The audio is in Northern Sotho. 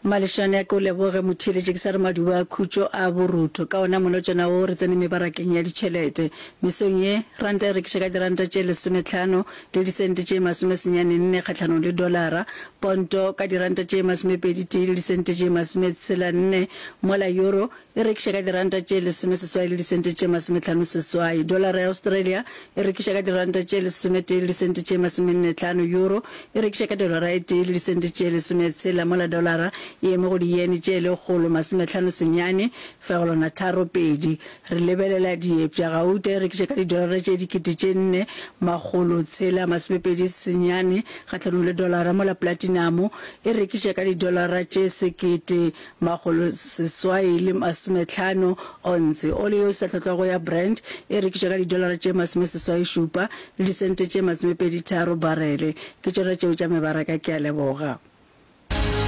Malešane a ke o leboge motheeletši ke sa re maduba a khutšo a borutho. Ka ona molotšana wo re tsene mebarakeng ya ditšhelete. Mesong ye, ranta e rekiša ka diranta tše lesometlhano le disente tše masomesenyane nne kgahlanong le dolara, ponto ka diranta tše masomepedi tee le disente tše masometshela nne, mola euro E rekiša ka diranta tše lesomeseswai le disente tše masometlhanoseswai. Dolara ya Australia e rekiša ka diranta tše lesometee le disente tše masomennetlhano. Euro e rekiša ka dolara e tee le disente tše lesometshela, mola dolara e eme go diyene tše lekgolo masometlhano senyane fegelwana tharo pedi. Re lebelela diepša. Gauta e rekiša ka didolara tše dikete tše nne makgolo tshela masomepedi senyane kgahlanong le dolara, mola platinamo e rekiša ka didolara tše sekete Makgoloseswai le masometlhano onse. Oli yeo e sa hlotlwago ya Brent e rekišwa ka didolara tše masomeseswai-šupa le disente tše masomepedi-tharo barele. Ke tšona tšeo tša mebaraka. Ke a leboga.